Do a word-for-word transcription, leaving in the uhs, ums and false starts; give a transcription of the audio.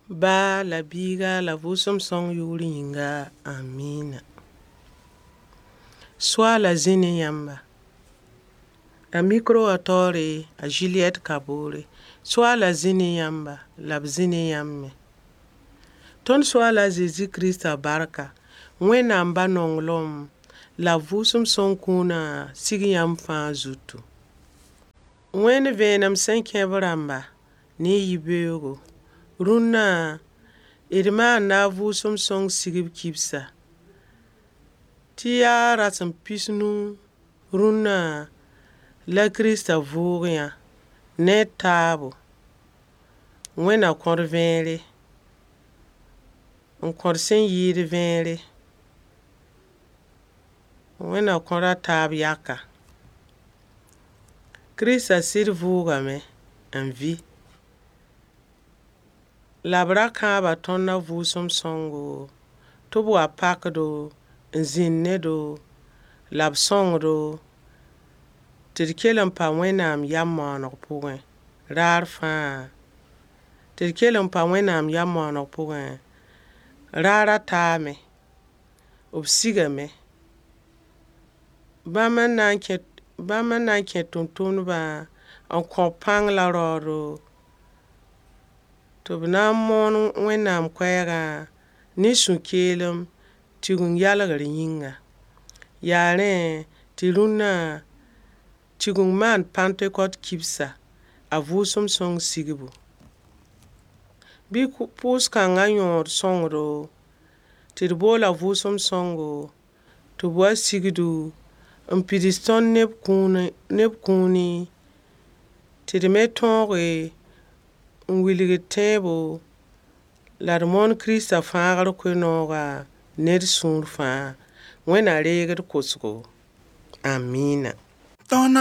Ba la biiga la vʋʋsem sõng yʋʋr yĩnga. Amiina. Soaala zĩ ne yãmba. A micro wã taoore a Juliette Kabore. Soaala zĩ ne yãmba la b zĩ ne yãmb me. Tõnd Soaala a Zezi Kirista barka, Wẽnnaam Ba nonglem la vʋʋsem sõng kũuna sig yãmb fãa zutu. Wẽnd vẽenem sẽn kẽ b rãmba ne yibeoogo. Rũnna, d maanda a vʋʋsem sõng sigb kibsa tɩ yaa rasem pis-nu rũnna la Kirista vʋʋg yã ne d taabo. Wẽnd na kõ-d vẽere, n kõ d sẽn yɩɩd vẽere. Wẽnd na kõ-d a taab yaka. Kirista sɩd vʋʋgame n vɩ. La b ra kãaba tõnd a vʋʋsem sõngo tɩ b wa pak-do n zĩnd ne-do la b sõng-do tɩ d kell n pa Wẽnnaam yam maaneg pʋgẽ raar fãa. Tɩ d kell n pa Wẽnnaam yam maaneg pʋgẽ raar a taame. B sigame. Bãmb n na n kẽ bãmb n na n kẽ tʋmtʋmdbã n kõ-b pãng la raoodo tɩ b na n moon Wẽnnaam koɛɛgã ne sũ-keelem Tigeng-yalgr yĩnga. Yaa rẽ tɩ rũnnã Tigeng maan pãntekot kibsa, a vʋʋsem sõng sigbu. Bɩ pʋʋs-kãngã yõod sõngdo tɩ d bool a vʋʋsem sõngo tɩ b wa sigdu n pids tõnd neb kũuni neb kũuni tɩ d me tõoge n wilg d tẽebo la d moon Kirista fãagr koe-noogã ne d sũur fãa. Wẽnd na reeg d kosgo. Amiina. Tõnd